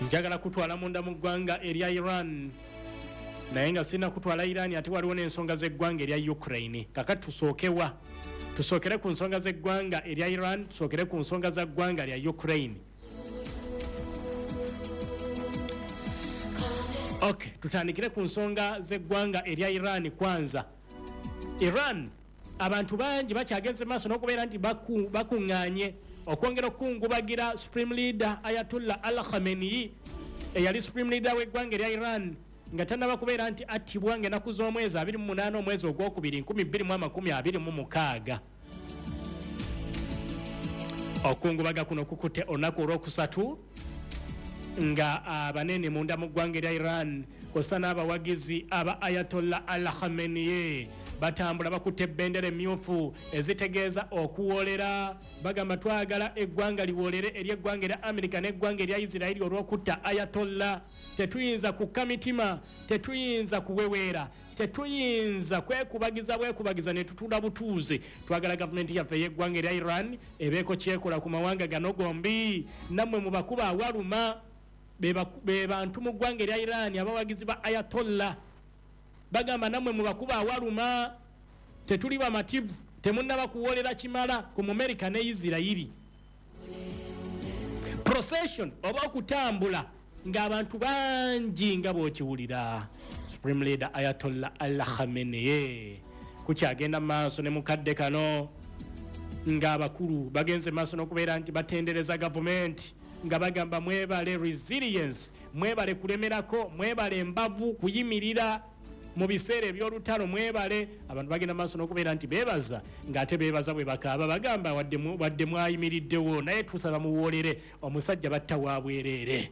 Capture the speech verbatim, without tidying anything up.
Njagala kutwala munda mu ggwanga erya Iran, naye nga sina kutwala Iran, ate waliwo n'ensonga z'eggwanga erya Ukraine. Kakati tusookewa? Tusookere ku nsonga z'eggwanga erya Iran, tusookere ku nsonga za ggwanga lya Ukraine? Ok, tutandikire ku nsonga z'eggwanga erya Iran kwanza. Iran, abantu bangi bakyagenze maaso n'okubeera nti bakuŋŋaanye okwongera okukungubagira Supreme Leader Ayatollah Al Khamenei, eyali Supreme Leader w'eggwanga erya Iran nga tannaba kubeera nti attibwa ng'ennaku z'omwezi abiri mu munaana omwezi ogwokubiri nkumi bbiri mu amakumi abiri mu mukaaga. Okukungubaga kuno kukutte olunaku olwokusatu nga abanene munda mu ggwanga erya Iran kw'ossa n'abawagizi aba Ayatollah Al Khamenei batambula bakutte ebendera emyufu ezitegeeza okuwoolera. Bagamba twagala eggwanga liwoolere ery'eggwanga erya Amerika n'eggwanga erya Isirairi olw'okutta Ayatollah. Tetuyinza kukka mitima, tetuyinza kuweweera, tetuyinza kwekubagiza bwekubagiza ne tutula butuuze. Twagala gavumenti yaffe ey'eggwanga erya Iran ebeeko kyekola ku mawanga gano gombi. Nammwe mubakuba awaluma, be bantu mu ggwanga erya Iran abawagizi ba Ayatollah. Bagamba nammwe mubakuba awaluma, tetuli bamativu, temunnaba kuwoolera kimala ku Mumerika ne Isirayiri. Procession oba okutambula ng'abantu bangi nga bw'okiwulira Supreme Leader Ayatollah Al Khamenei kukyagenda maaso ne mukadde kano, ng'abakulu bagenze maaso n'okubeera nti batendereza gavumenti nga bagamba mwebale resilience, mwebale kulemerako, mwebale embavu kuyimirira mu biseera eby'olutalo, mwebale. Abantu bagenda maaso n'okubeera nti beebaza, ng'ate beebaza bwe bakaaba, bagamba wadde mwayimiriddewo naye tusaba muwoolere omusajja batta wa bwereere.